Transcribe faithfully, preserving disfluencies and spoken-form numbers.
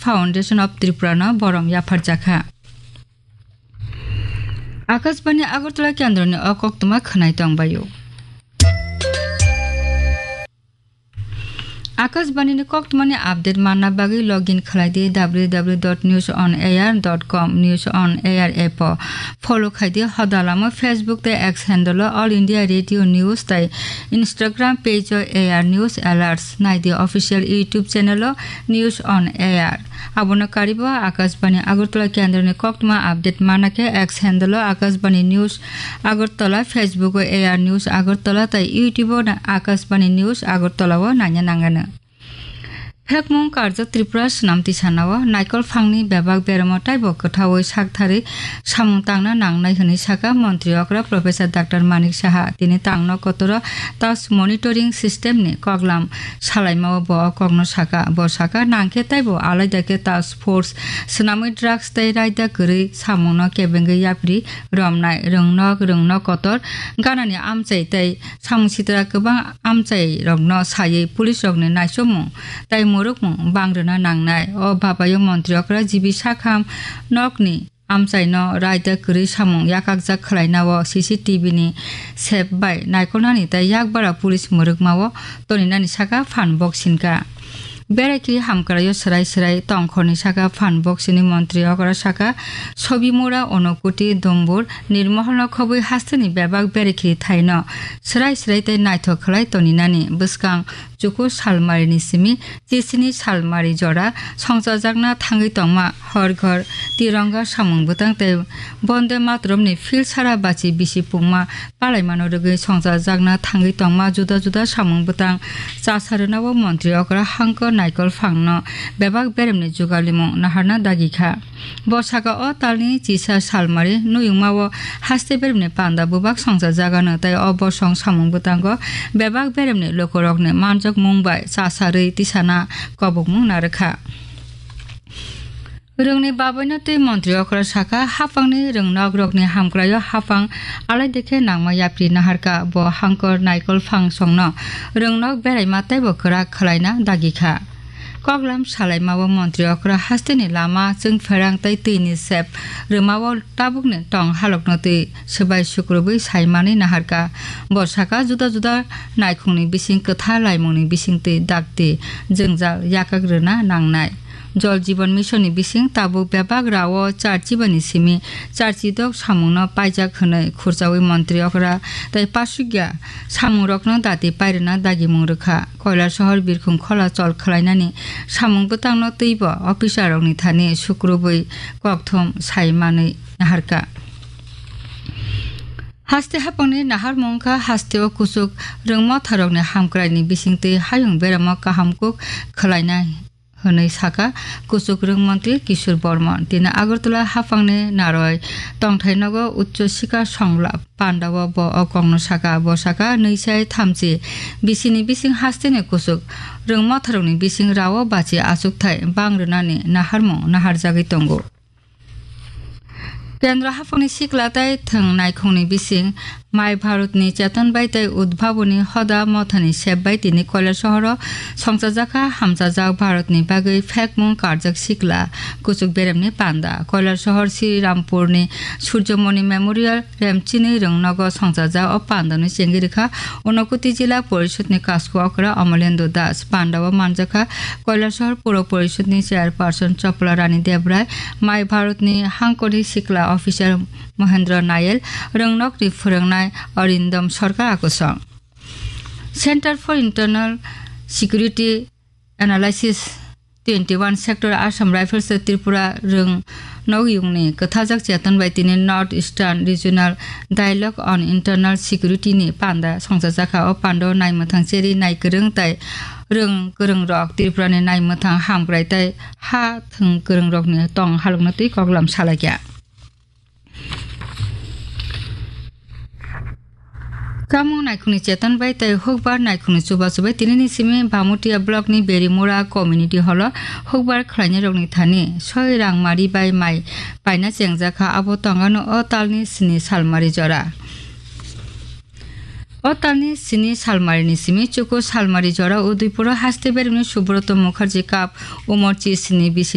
Foundation of Tripura no borom yapharjakha. Akashbani Agartala kendroni o koktwma khwnai tongbaio. Akashbani ni koktwmani update manna bagwi login khlai di w w w dot news on air dot com, News on Air app o. Follow khai di hoda lama Facebook tei X handle o All India Radio News tei Instagram page o A R News Alerts. Nai di official YouTube channel o News on Air. Abono karibo Akashbani Agartala kendroni koktwma update mana khe X handle o Akashbani News Agartala, Facebook o A R News Agartala tei YouTube o na-, Akashbani News Agartala o naina nangano. Phekmung karjak Tripura swnam tisanao naikol phangni bebak beremo taibo kwthaui saktharwi samung tangna nangnai hwnwi saka Montri okra Professor Doctor Manik Saha. Tini tangno kotoro task monitoring system ni koklam salaimao bo o kokno saka. Bo saka, nangkhe taibo alaida khe task force swnamwi drugs tei raida kwrwi samungno kebengwi yapri romnai, rwngnok, rwngnok kotor ganani amchai tei samung sitra kwbang amchai rokno saywi police rokni naisomung tei mwrwkmung bang rwna nangnai. O babayo Montri okra G B Sakham nokni amchaino raida kwrwi samung yakakjak khwlainao C C T V ni sep bai naikolnani tei yakbara police mwrwkmao toninani saka phan bok sinka. Berai khe hamkraio swrai swrai tongkhorni saka phan bok sini Montri okra saka Sobimura, Onokuti, Dombur, Nirmoholno khobwi hasteni bebak berai khe thaino swrai swrai tei naithok khwlai toninani. Bwskang chuku salmarini simi chisini salmari jora songchajakna thangwi tongma hor ghor tironga samung bwtang tei Bonde Mataramni field sara bachi bisi pungma palaimano rwgwi songchajakna thangwi tongma juda juda samung bwtang chasa rwnao Montri okra hangkor naikol phangno bebak beremni jugalimung naharna dagi kha. Bo saka o talni chisa salmari nuyungmao haste beremni panda bubak songchajagano tei o bosong samung bwtango bebak beremni lukurokni manjakmung bai chasarwi tisana kobokmung narwkha. Rwngni babaino twi Montri okra saka, haphangni rwngnokrokni hamkraio haphang alaide khe nangma yapri naharka. Bo hangkor naikol phangsongno rwngnok beraima teibo kwrak khwlaina dagi kha. Koklam salaimao Montri okra hasteni lama, chwngpherang tei twini sep rwmao tabukni tong halokno twi swbai sukrubwi saimanwi naharka. Bo saka, juda juda naikhungni bising kwthar laimungni bisingtwi dakti jwngjal yakak rwna nangnai. Jal Jeevan Mission ni bising tabuk bebak rao charchi bani simi charchi dok samungno paijak hwnwi khurchaui Montri okra tei pasukya samungrokno dati pairwna dagimung rwkha. Koilasohor birkhung khola chol khwlainani samung bwtangno twibo officer rokni thani sukrubwi kokthum sai manwi naharka. Haste haphangni naharmung wngkha hasteo kuchuk rwngmotharokni hamkraini bisingtwi hayung beramo kaham kuk khwlaina hwnwi saka kuchuk rwng montri Kishore Bormon. Tini Agartala haphangni Naroi tongthai nogo Uccho Sikar Songla pandao bo o kokno saka. Bo saka, nwi sai thamchi bisini bising hasteni kuchuk rwngmotharokni bising rao bachi achukthai bang rwnani naharmung naharjagwi tongo. Kendra haphangni sikla tei thwng naikhungni bising Mai Bharatni Cheton bai tei Udbhavoni Hoda Mothani sep bai tini Koilasohoro songchajakha hamchajak Bharatni bagwi phekmung karjak sikla kuchuk beremni panda. Koilasohor Sri Rampurni Surjomoni Memorial Remchini rwngnogo songchajak o pandano chengwi rwkha Unakoti Jila Porishodni Kasku Okra Amalendra Das. Pandao manjakha Koilasohor Puro Porishodni Chairperson Chopla Rani Debrai, Mai Bharatni hangkorni sikla officer Mohendra Nayal, rwngnokni phwrwngnai Arindam Sarkar akusong. Center for Internal Security Analysis twenty-one Sector Assam Rifles tei Tripura rwng nokyungni kwthajak cheton bai tini North Eastern Regional Dialogue on Internal Security ni panda songchajakha. O pandao naimwthang cheri naikwrwng tei rwng kwrwngrok Tripurani naimwthang hamkrai tei ha thwng kwrwngrokni tong halokno twi koklam salaikha. Kamung naikhungni cheton bai tei hukbar naikhungni chubachu bai tinini simi Bamutia blockni Berimura community hall-o hukbar khlainairokni thani soi rang mari bai mai paina chengjakha. Abo tongano o talni sini salmari jora. O talni sini salmarini simi chuku salmari jora Udaipuro haste beremni Subroto Mukherjee Cup umor chisini bisini